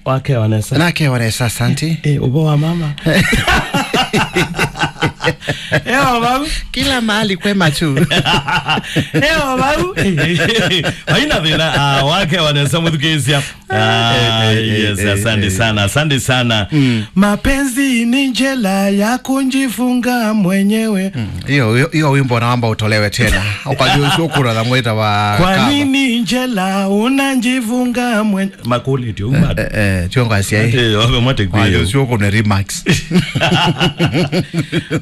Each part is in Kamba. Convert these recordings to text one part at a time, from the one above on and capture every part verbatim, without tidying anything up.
Wakewa nesa. Nakewa nesa, asante. Eh, ũvoo wa mama. Ewa vau. Kila mahali kwema tu. Ewa vau. Haina thĩna, ah, wakewa nesa mũthukĩĩsya. Ah, eh, eh, yes, eh, asante eh, sana, asante sana. Mm. Mapenzi ni njela ya kujifunga mwenyewe. Mm. Hiyo, hiyo, hiyo wimbo naomba utolewe tena. Ukajua usiokura na mwita wa Kwa kama. Nini njela unajifunga mwenyewe? Makũlĩtyo, eh, bado. Eh, eh, tiongo asia. Ate, obe mwate kwa. Wajo sio kuna remarks.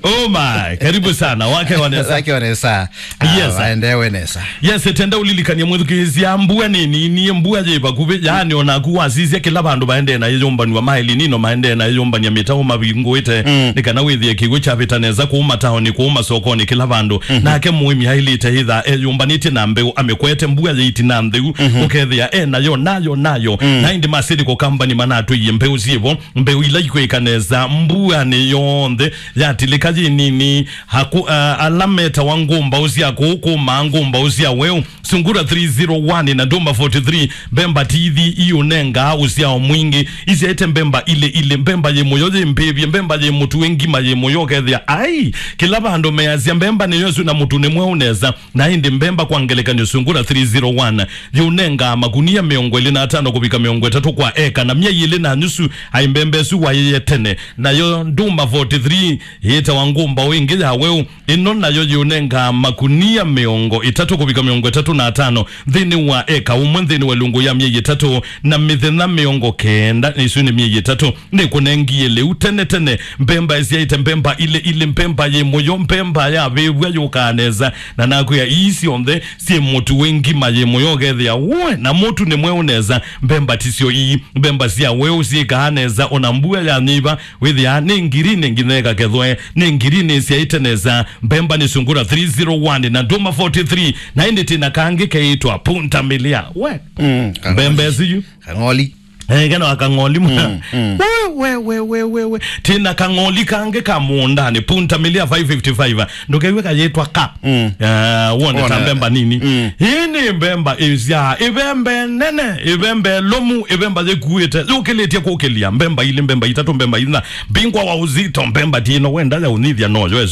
Oh my, karibu sana. Wakewa nesa. Wakewa nesa. Yes, sir. Waendewe nesa. Yes, tenda ũlilikanie mwĩthukĩĩsya, mbua nĩ nini, mbua yĩ vakuvĩ, yaani onaku wasisya kĩla vandũ vaendee na yĩyũmbanwa, maĩli nino maendee na yĩyũmbania, mĩtaũ mavingũĩte, mm, nĩ kana wĩthĩe kĩw'ũ kyavĩta nesa kũu mataoni, kũu masokonĩ, kĩla vandũ. Mhm. Nake mũĩmi aĩlĩte ĩtha eyũmbanĩtye na mbeũ, amĩkwete mbua yĩ ĩtina ntheu, mhm, ũkethĩa e nayo, nayo, nayo. Mm. Na ĩndĩ ma Seed Company manatwĩie mbeũ syĩvo, mbeũ ila ikwĩka nesa mbuanĩ yonthe yatilĩka yĩ nini, haku, ah, ala metawa ngũmbaũ sya kũu kũmaa ngũmbaũ sya weũ, Sungura three zero one na Nduma forty three, mbemba tithi iũnengaa ũsyao mwingĩ, isyaĩte mbemba ilĩ ilĩ, mbemba yĩ mũyo yĩ mbĩvye, mbemba yĩ mũtu wĩ ngima yĩ mũyo, ũkethĩa, ai, kĩla vandũ measya mbemba nĩyo ĩsu na mũtu nĩ mweũ nesa. Na ĩndĩ mbemba kwa ngelekany'o Sungura three zero one yĩũnengaa makunia mĩongo ĩlĩ na atano kũvika mĩongo ĩtatũ kwa eka, na myei ĩlĩ na nyusu ai mbemba ĩsu waĩĩe tene. Nayo Nduma forty three yĩtawa ngũmbaũ ĩngĩ ya weũ, ĩno nayo yĩũnengaa makunia mĩongo ĩtatũ kũvika mĩongo ĩtatũ na atano nthĩnĩ wa eka ũmwe nthĩnĩ wa ĩlungu ya myei ĩtatũ, na mĩthenya mĩongo kenda, ĩsu nĩ myei ĩtatũ. Nĩkũnengie lĩu tene tene, mbemba ĩsyaĩte mbemba ilĩ ilĩ, mbemba yĩ mũyo, mbemba yavĩvw'a yũkaa nesa, na nakwĩa ii syonthe syĩ mũtu wĩ ngima yĩ mũyo, ũkethĩa we, na mũtu nĩ mweũ nesa. Mbemba tisyo ii, mbemba sya weũ syĩkaa nesa, ona mbua yanyĩva, wĩthĩaa nĩ ngirini nginya ĩkakethwe, nĩ ngirini ĩsyaĩte nesa. Mbemba nĩ Sungura three zero one na Nduma forty three, na ĩndĩ tĩna kangĩ keĩtwa Punta Milia. We, mm, mbemba ĩsu yu. Kang'oli. Eh, kena wa kang'oli mwa. Mm, mm. We, we, we, we, we, we. Tĩna kang'oli kangĩ ka mũũndanĩ, Punta Milia five fifty-five. Ndũkew'e kayĩtwa ka. Mm. Eh, wone ta mbemba nini. Mm. Hii nĩ mbemba ĩsya, ĩvembe nene, ĩvembe lũmu, ĩvemba yĩkuĩte, yũkĩlĩtye kũkĩlya, mbemba ilĩ, mbemba itatũ, mbemba ina, mbingwa wa uzito, mbemba tino wenda ya ũnyithya noyo ĩsu.